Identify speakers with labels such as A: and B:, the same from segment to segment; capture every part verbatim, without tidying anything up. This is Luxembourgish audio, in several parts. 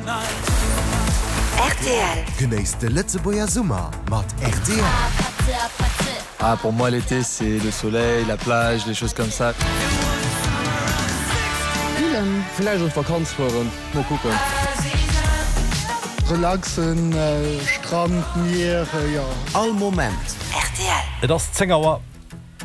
A: R T L.
B: Genéisst de Lëtzebuerger Summer mat R T L.
C: Ah, pour moi, l'été, c'est le soleil, la plage, les choses comme ça.
D: Spillen.
E: Vläicht an d'Vakanz fueren, mol kucken.
F: Relaxen, äh, Strand, Mier, äh, ja.
B: All Moment.
A: R T L.
G: Et ass zéng Auer.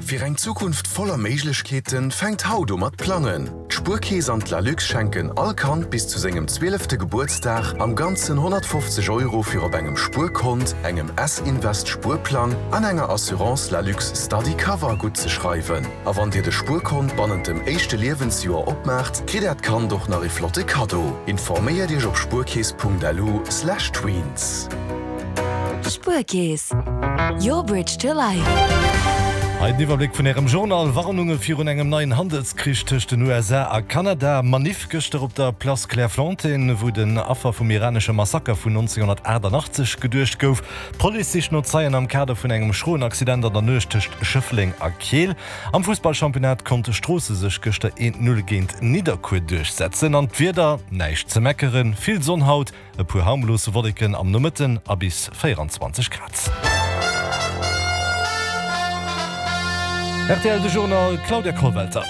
H: Fir eng Zukunft voller Méiglechkeeten fänkt haut u mat plangen. D'Spuerkeess an d'Lalux schenken all Kand bis zu sengem zwielefte Gebuertsdag am ganzen honnertfofzeg Euro fir op engem Spuerkont, engem S-Invest Spuerplang an enger Assurance Lalux Study Cover gutt ze schreiwen. A wann dir de Spuerkont bannent dem éischte Liewensjoer opmaacht, kritt äert Kand och nach e flotte Kaddo. Informéiert iech op spuerkeess Punkt L U slash tweens.
A: Spuerkeess. Your bridge to life.
G: Hei den Iwwerbléck vun Ärem Journal. Warnunge virun engem neien Handelskrich tëscht den U S A a Kanada. Manif gëschter op der Place Clairefontaine, wou den Affer vum iranesche Massaker vun nonzénghonnertaachtanachtzeg geduecht gouf. D'Police sicht no Zeien am Kader vun engem schroen Accident an der Nuecht tëscht Schëffleng a Keel. Am Fussballchampionnat konnt Stroossen sech gëschter eent Null géint Nidderkuer duerchsetzen. An d'Wieder, näischt ze meckeren, vill Sonn haut, e puer harmlos Wolleken am Nomëtten a bis véieranzwanzeg Grad. R T L de Journal, Claudia Kollwelter.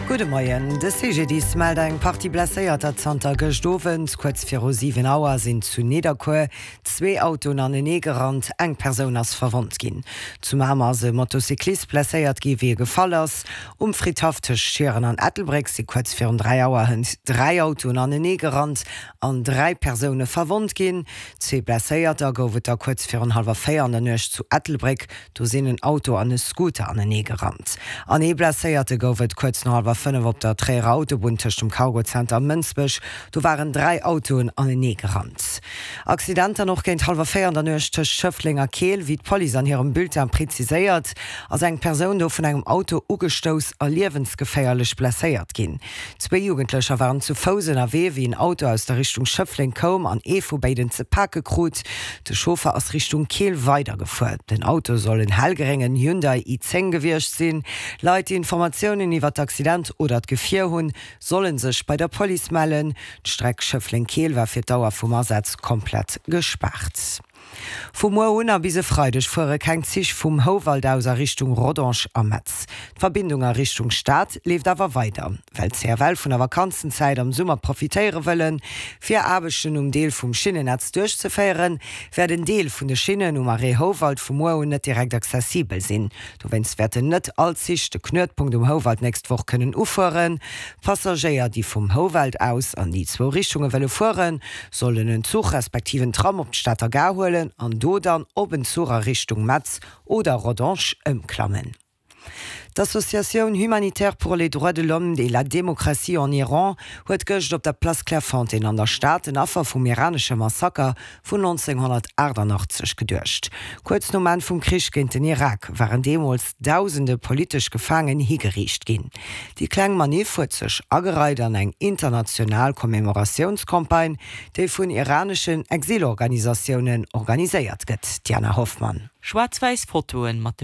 I: Gudde Moien. De C G D I S mellt eng Partie Blesséierter zanter gëscht Owend. Kuerz viru siwen Auer sinn zu Nidderkuer zwee Autoen anenee gerannt. Eng Persoun ass verwonnt ginn. Zu Mamer ass e Motocyclist blesséiert gi wéi e gefall ass. Um Fridhaff tëscht Schieren an Ettelbréck si kuerz virun dräi Auer hënt dräi Autoen anenee gerannt an dräi Persoune verwonnt ginn. Zwee Blesséierter gouf et da kuerz virun hallwer véier an der Nuecht zu Ettelbréck. Do sinn en Auto an e Scooter anenee gerannt. An ee Blesséierte gouf et kuerz no hallwer fënnef op der Tréierer Autobunn tëscht dem Cargozenter a Mënsbech. Do waren dräi Autoen anenee gerannt. Accident dann och géint hallwer véier an der Nuecht tëscht Schëffleng a Keel. Wéi d'Police an hirem Bulletin preziséiert, ass eng Persoun do vun engem Auto ugestouss a liewensgeféierlech blesséiert ginn. Zwee Jugendlecher waren zu Fouss ënnerwee, wéi en Auto aus der Richtung Schëffleng koum an ee vu béiden ze pake krut. De Chauffer ass Richtung Keel weidergefuer. Den Auto soll en hellgréngen Hyundai i zéng gewiescht sinn. Leit, déi Informatiounen iwwer d'Accident oder d'Gefier hunn, solle sech bei der Police mellen. D'Streck Schëffleng-Keel war fir d'Dauer vum Asaz komplett gespaart. Vu muer un a bis e Freideg fuere keng Zich vum Houwald aus a Richtung Rodange a Metz. D'Verbindung a Richtung Stad leeft awer weider. Well d'C F L vun der Vakanzenzäit am Summer profitéiere wëllen, fir Aarbechten um Deel vum Schinnennetz duerchzeféieren, wäert en Deel vun de Schinnen um Arrêt Houwald vu muer un net direkt accessibel sinn. Dowéinst wäerten net all Zich de Knuetpunkt um Houwald d'nächst Woch kënnen ufueren. Passagéier, déi vum Houwald aus an déi zwou Richtunge wëlle fueren, sollen en Zuch respektiv en Tram op d'Stater Gare huelen an do dann op en Zuch a Richtung Metz oder Rodange ëmklammen. D'Associatioun humanitaire pour les droits de l'homme et la démocratie en Iran huet gëscht op der Place Clairefontaine an der Stad den Affer vum iranesche Massaker vun nonzénghonnertaachtanachtzeg geduecht. Kuerz nom Enn vum Krich géint den Irak waren deemools dausende politesch Gefaangen higeriicht ginn. Déi kleng Manif huet sech agereit an eng international Commemoratiounscampagne, déi vun iraneschen Exilorganisatiounen organiséiert gëtt. Diana Hoffmann.
J: Schwaarz-wäiss Fotoen mat de